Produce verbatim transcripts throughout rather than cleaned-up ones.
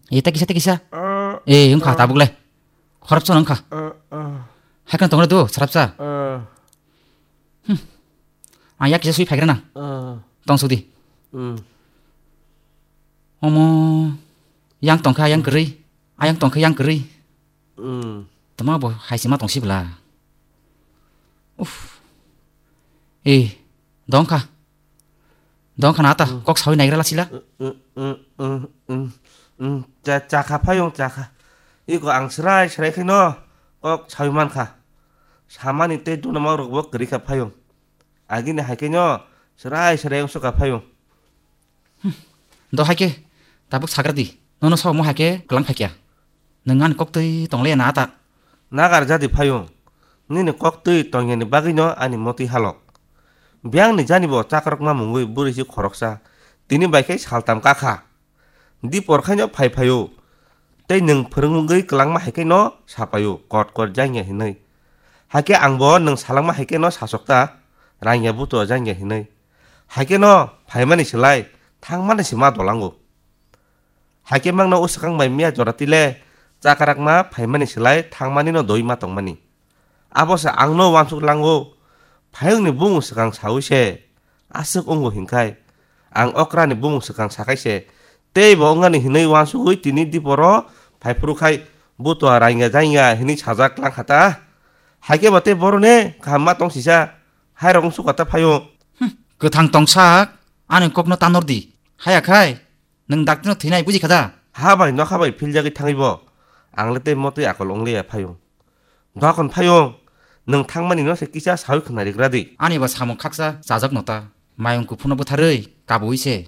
E, ta kisa, ta kisa. E, wngkha tabuk le. Khoroksa wngkha. Hai kheno tongo do, sarapsa. Ang yak kisa sui phaigrana. Tong sudi. Omo, yang tongkha, yang kwrwi. Ayang tongkha, yang kwrwi. Tama bo hai sima tong sibla. Uf. E, dongkha. Dongkha na ta, kok sawi naigra lasila. Cha, chakha phayung, chakha. Iko ang srai, srai khe no kok sawi mankha. Samani tei duna ma rok bo kwrwi kha phayung. Agini hai khe no srai, srai wng sukha phayung. Do hai khe, tabuk sagra di. Nono sao mo hai khe kwlang phai kya. Nwng ani koktwi tong le na ta. Nagar jadi phayung. Nini koktwi tongyani bagwino ani motwi halok. Biyangni jani bo chakrokma mungwi bwrwi si khoroksa. Tini bai khe saltam kakha. Dipor khaino phai phaio. Tei nwng phwrwngwi kwlangma hai khe no sapaio, kot kot jangya hinwi. Hai khe ang bo nwng salangma hai khe no sasokta, rangya buto jangya hinwi. Hai khe no phaimani slai thangmani se ma dolango. Hai khe mangno o swkang bai miya jora tile chakarakma phaimani slai thangmani no doi ma tongmani. Abo se ang no uansuk lango. Phayungni bumung swkang saui se aswk wngo hinkhai. Ang okrani bumung swkang sakai se tei bo wngani hinwi uansugwi tini diporo phai phuru khai butua rainga jainga hinwi sajak lang kha ta. Hai khe bo tei boroni kaham ma tong sisa hai rok wngsuka ta phaio. Kwthang tongsak, ani kokno tanor di. Haya khai, nwng dakti no thwinai buji kha da? Ha bai, nokha bai philjagwi thangwi bo. Ang le tei motwi akol wng liya phaio. Dokon phaio, nwng thangmani no se kisa sawi khna rigra di. Ani bo samung khaksa chajak no ta. Mayung kuphur no bwtharwi kabui se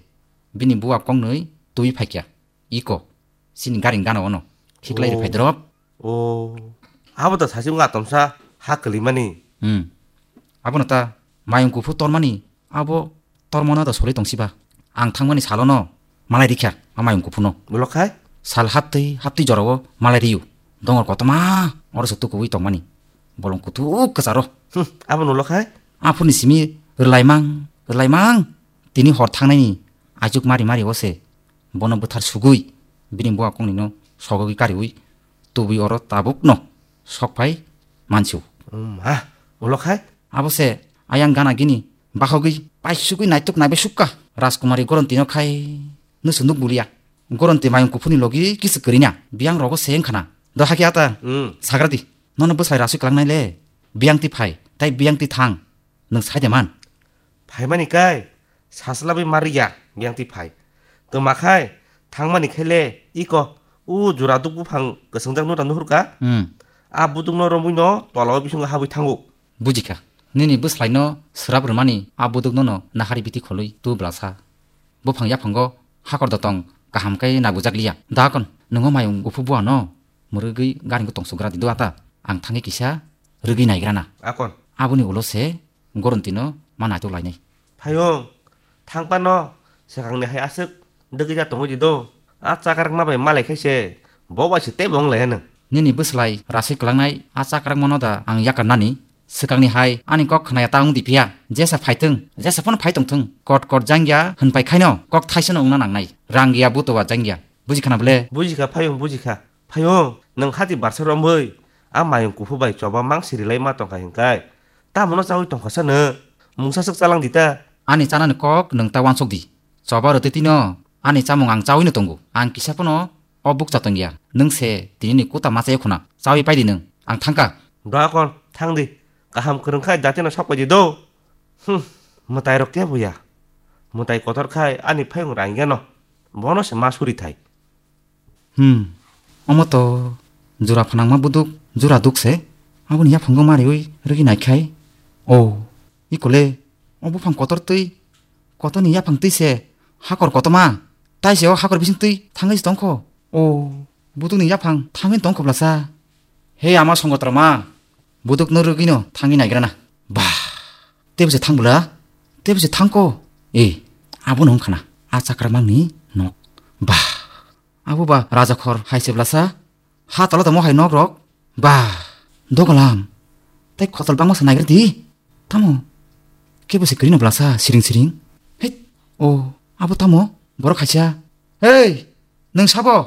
bini buwa kongnwi twi phaikya. Iko, sini gari gana ono. Khiklai ri phai drop. O, abo to sasi wng atomsa ha kwlwimani. Hmm. Abono ta mayung kuphur tormani, abo tormano da sori tongsiba. Ang thangmani salono malai rikha, a mayung kuphurno. Ulo khai? Sal haptwi, haptwi jorao malai riyu. Dongor kotoma, oro se tukuwi tongmani. Bolong kuthuk kwcharo. Hmm, abo nulo khai? Aphurni simi rwlaimang, rwlaimang. Tini hor thangnaini aichuk mari mari o se. Bono bwthar sugwi, bini buwa kongnino sogogwi kariwi, tubui oro tabukno sokphai mansu. Um, ha, ulo khai? Abo se ayang gana gini, bakhogwi, paisugwi naituk naibe sukka. Rajkumari Gorontino khai, nusu nuk bulia. Goronti mayung kuphurni logi kisu kwrwina, biyang rogo se wngkhana. Do hakhe ata, hmm, sagra di, nono bwsai rasui kwlangnai le, biyang twi phai, tai biyang twi thang. Nwng sai de man? Phaimani kai, sasla bai ma rwya, biyang twi phai. Twma khai, thangmani khe le, iko, u jura duk buphang kwswngjak no ta nuhur ka? Hmm. A buduk no romwi no tola o bisingo habwi thango. Buji kha. Nini bwslai no swrap rwmani a buduk no no nahari biti kholwi tu bwlasa. Buphang yaphango hakor dotong kaham khe nagujak liya. Dakon, nwngo mayung guphu bua no mwrwgwi garing tong sugra di do ata. Ang thangwi kisa rwgwi naigrana. Akon. Aboni ulo se Goronti no ma naitok lainai. Phayung, thangpa no, swkang ni hai aswk dwgwi ja tongwi di do. A chakrak ma bai malai khai se, bo bai se teibo wng lai anw. Nini bwslai rasui kwlangnai a chakrak mano da ang yakar nani? Swkang ni hai ani kok khna ya ta wng di phiya. Jesa phai thung, jesa phano phai tong thung. Kot kot jang ya hwn pai khai no, kok thaisa no wngna nangnai. Rang ya buto wa jang ya. Buji khana bole? Buji kha, Phayung, buji kha. Phayung, nwng hati barsa romwi a mayung kuphu bai choba mang siri lai ma tong kha hinkai. Tamo no chawi tong kha sa nwng? Mungsa swk chalang di ta. Ani chanani kok nwng ta wansok di. Choba rwtwi twi no ani chamung ang chawi no tongo. Ang kisa phano o bukcha tong ya. Nwng se tini ni kuta ma chayo khuna. Chawi pai di nwng. Ang thang kha. Dua kon, thang di. Kaham kwrwng khai jati no sok pai di do. Hmm, mwtai rok kebo ya. Mwtai kotor khai ani Phayung rang ya no. Bono se ma suri thai. Hmm. Omo to jura phanangma buduk, jura duk se. Aboni yaphang go mariwi rwgwi nai khai. O, ikole, o buphang kotor twi, kotorni yaphang twi se hakor kotoma. Tai se o hakor bising twi thangwi se tongkho. O, budukni yaphang thangwi tongkho blasa. He ama songotrama, buduk no rwgwi no thangwi naigrana. Bah, tebo se thang bwla? Tebo se thangkho. E, abono wngkhana. A chakra mangni nok. Bah. Abo ba raja khor hai se blasa? Ha tala tamo hai nok rok? Ba, dogalam. Tai khotal bangma sa naigra di. Tamo? Kebo se kwrwino blasa siring siring. Hei, o, abo tamo? Borok khaisa. Hei, nwng sabo?